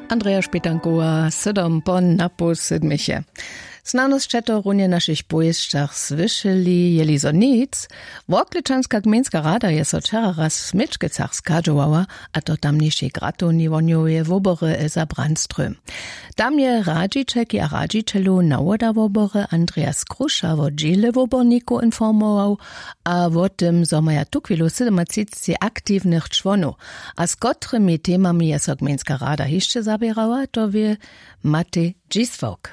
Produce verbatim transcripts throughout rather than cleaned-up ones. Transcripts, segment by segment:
Andreja Špětankowa sydom po napoł sydmiche. Snano sće to runje w našich powěsćach słyšeli, jeli zo nic. Worklečanska gmejnska rada je so wčera raz w směčkecach schadźowała, a to tamnišej gratowni wohnjoweje wobory Elsa Brandström. Tam je radźićelki a radźićelow nawoda wobory Andreas Kruša wo dźěle wobornikow informował, a wo tym zo maja tuchwilu sydomatřicci aktiwnych čłonow, a z kotrymi temami je so gmejnska rada hišće zaběrała, to wě Matej Dźiswałk.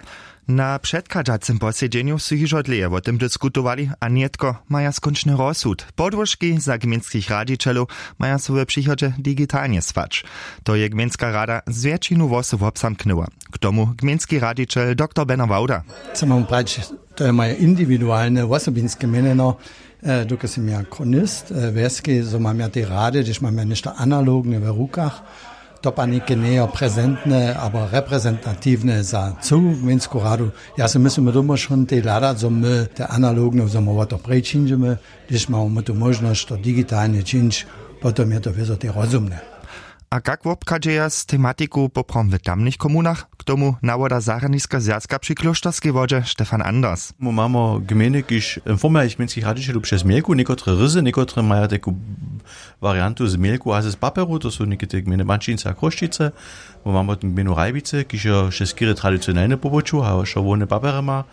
Na předchadźacym posedźenju su hižo dlěje wo tym diskutowali a nětko maja skónčny rozsud. Podłožki za gmejnskich radźićelow maja so w přichodźe digitalnje słać. To je gmejnska rada z wjetšinu hłosow wobzamknyła. K tomu gmejnski radźićel dr beno wawda. Chcem wam prać, to je moje indiwidualne wosobinske měnjeno. Dokelž sym ja chronist wjeske, zo mam ja tej rady, hdyž mam ja něšto analogne w rukach, to pa něke njejo prezentne abo reprezentatiwne za cyłu gmejnsku radu. Ja se myslim, my doma šon tej hladać, zo my te analogne zo my wo to prejčinźemy, hdyž mamy my tu móžnosć to digitalnje čińć, potom je to wězo tej rozumne. A kak wobchadźeja z tematiku poprawom w tamnych komunach? K tomu nawoda zarjadniska zwjazka při klóšterskej wodźe stefan anders. Mu mamo gmejny kiž informujach gmejnskich radźićelow přez mjelku někotre ryzy někotre maja teku wariantu z mjelku a z paperu, to su někite gmejny bančińce a chrósćice. Mu mamo tu gmejnu rajbice kiž jo še skěry tradicionelne poboću a jo še hłowne papery ma.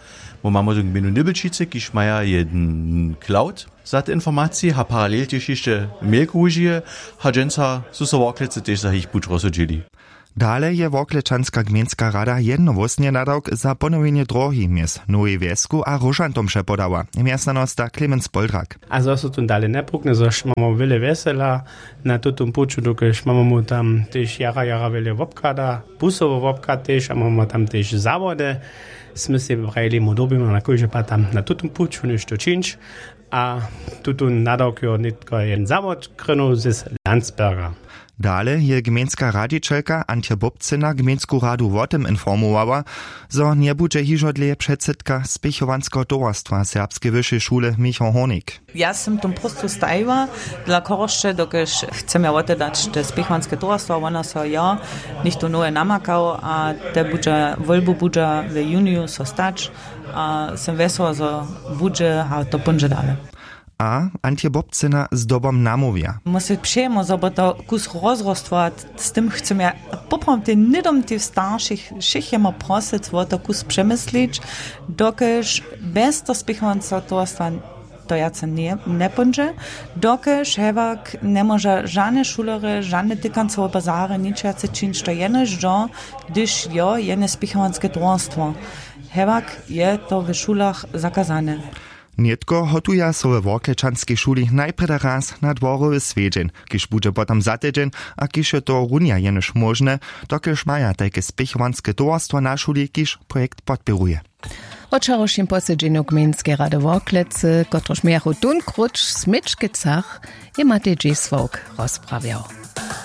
Mu mamo tu gmejnu nybelčice kiž maja jedn cloud za te informacije a paralel tež hišće mjelku wužije. A dźensa su so worklecy tež za jich puć rozsudźili. Dale je worklečanska gmejnska rada jednohłósnje nadawk za ponowjenje dróhi mjez nowej wjesku a róžantom přepodała mjezstanosta clemens poldrak. A zo su tón dale njepukne zož mamy wjele wjesela na tutym puću dokelž mamy mu tam tež jara jara wjele wobchada, pusowy wobchad tež a mamy tam tež zawody. Smy sej prajili mu dyrbimy na kóždy pad tam na tutym puću něšto čińć. A tutón nadawk jo nětko jen zawodkrynju z landsberga. Dale je gmejnska radźićelka antje bobcyna gmejnsku radu wo tym informowała, zo njebudźe hižo dlěje předsydka spěchowanskeho towarstwa serbskeje wyšej šule michał hornik. Ja sym tom próstwu stajiła dla chorosće dokelž chcem ja wotedać te spěchowanske towarstwa wona so jo něchtó nowe namakał a te budźa wólbu budźa w juniju so stać. A sym wjesła zo budźe a to póńdźe dale. A antje bobcyna zdobom namołwja. Mósy přejemo zo bo to kus rozrostwa. Z tym chcem ja poprawom tej hnydom tej staršich wšěch jema prosyc wo to kus přemyslić, dokelž bjez to spěchowanca towarstwa to wjace njepóńdźe, dokelž hewak njemóža žane šulerje žane tykancowe bazary ničwjace čińć to jenož do hdyž jo jene spěchowanske towarstwo. Hewak je to w šulach zakazane. Nětko hotuja so we worklečanskej šuli najprjedy raz na dworowy swjedźeń, kiž budźe potom za tydźeń, a kiž je to runja jenož móžne, dokelž maja tajke spěchowanske towarstwo na šuli kiž projekt podpěruje. Wot wčerawšim posedźenju gmejnskeje rady worklecy kotruž mějachu tón króć w směčkecach, je matej dźěsławk rozprawjał.